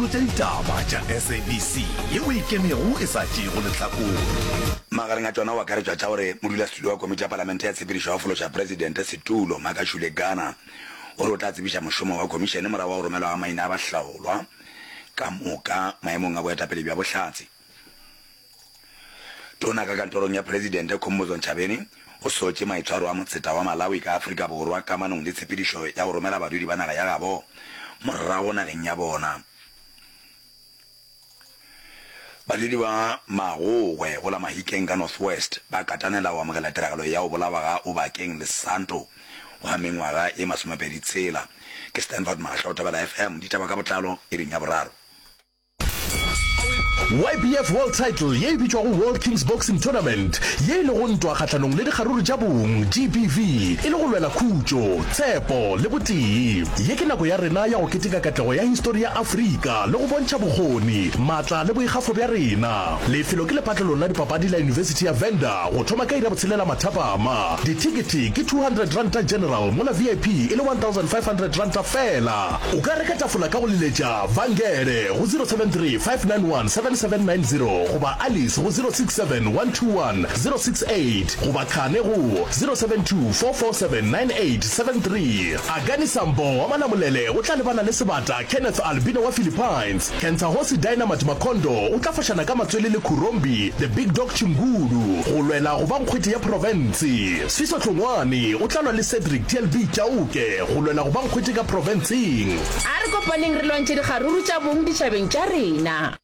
tša ditaba tša SABC yeo e ikemego e sa tšeego lehlakore. Magareng a tšona go akaretšwa tša gore modulasetulo wa komiti ya palamente ya tshepedišo ya go fološa presidente setulo, Makashule Gana, o re o tla tsebiša mošomo wa khomišene morago ga go romelwa ga maina a bahlaolwa ka moka maemong a boetapele bja bohlatse. Tona ka kantorong ya Presidente Khumbudzo Ntshavheni o sotše maitshwaro a motseta wa Malawi ka Afrika Borwa kamanong le tshepedišo ya go romela badudi ba naga ya gabo morago nageng ya bona. Badudi ba Magogwe go la Mahikeng ka North West ba katanela go amogela tiragalo ya go bolawa ga Obakeng Lesanto wa mengwaga ye masomepedi tshela. Ke Stanford Mahlo, Thobela FM, ditaba ka botlalo iring ya boraro. YBF World Title ye e bitšwago World Kings Boxing Tournament, ye e lego ntwa kgahlanong le dikgaruru tša bong, GBV, e le go lwela khutšo, tshepo le botee. Ye ke nako ya rena ya go keteka katlego ya histori ya Afrika le go bontšha bokgoni, maatla le boikgafo bja rena. Lefelo ke lepatlelong la dipapadi la Yunibesithi ya Venda go thoma ka iri ya botshelela mathapama. Dithekethe ke R200 General mola VIP e le R1500 feela. O ka reka tafola ka go leletša Vangele go 073 591 7790 goba Alice go 067 121 068 goba Khane go 072 447 9873. Akani Sambo wa Malamulele o tla lebana le sebata Kenneth Albino wa Philippines. Kentsahosi Dynamite Makondo o tla fošana ka matswele le Khurombi The Big Dog Chingulu go lwela go ba nkgwete ya profense. Sfiso Hlongwane o tla lwa le Cedric TLB Chauke go lwela go ba nkgwete ka profenseng. A re kopaneng re lwantšhe dikgaruru tša bong ditšhabeng tša rena.